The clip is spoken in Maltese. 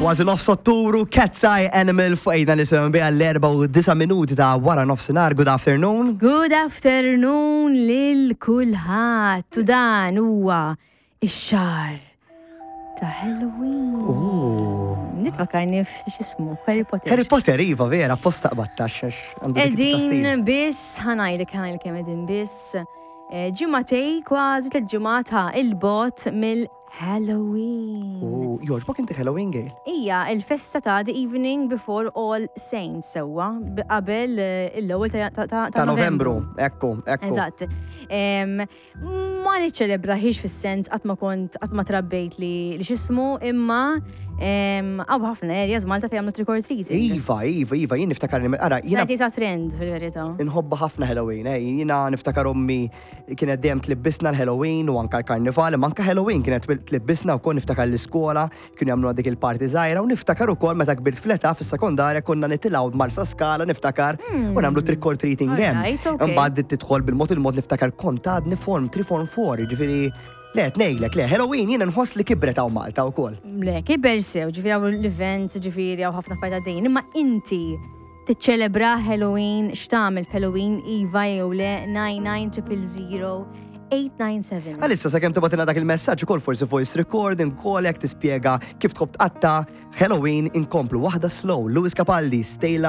Kważi nofs Ottubru, Cat's Eye Animal fuq ejna nisimgħu biha l-4:09 ta' wara nofsinhar. Good afternoon. Good afternoon lil kulħadd. U dan huwa ix-xahar ta' Halloween. Nitfakarni f'x'ismu, Harry Potter. Harry Potter, iva, vera, posta qbattax. Edin biss, ħa ngħidlek, ħa ngħidlek kemm edin biss. Ġimagħtej, kważi 3 ġimgħat ha, il-bot mill Halloween. U jogħġbok inti Halloween, Gail? Ija, il-festa ta' The Evening Before All Saints sewwa, qabel l-ewwel ta' Ta' Novembru, ekku, ekku. Eżatt. Ma niċċelebraħiex fis-sens qatt ma kont qatt ma trabbejt li x'ismu, imma hawn ħafna areas Malta fejn jagħmlu trick or treating. Iva, jien niftakar li ara, jiena Sajti sa trend fil-verità. Inħobba ħafna Halloween, jiena niftakar ommi kienet dejjem tlibbisna l-Halloween u anka l-Karnival, imma anka Halloween kienet tlibbisna wkoll. Niftakar l-iskola kienu jagħmlu dik il-party żgħira u niftakar ukoll meta kbirt fl-età fis-sekondarja konna nitilgħu Marsa Skala, niftakar, u nagħmlu trick or treating hemm. Imbagħad tidħol bil-mod il-mod, niftakar kont għadni form 3, form 4, jiġifieri le, ngħidlek le, Halloween jiena nħoss li kibret hawn Malta wkoll. Le, kiber sew, ġifieri hawn l-events, ġifieri hawn ħafna fajta dejn, imma inti tiċċelebra Halloween, x'tagħmel f'Halloween, iva jew le, 99 897. Għalissa sakemm tibgħatilna dak il-messaġġ ukoll, forsi voice recording, call, jekk tispjega kif tħobb tqatta Halloween, inkomplu waħda slow. Lewis Capaldi, Stay.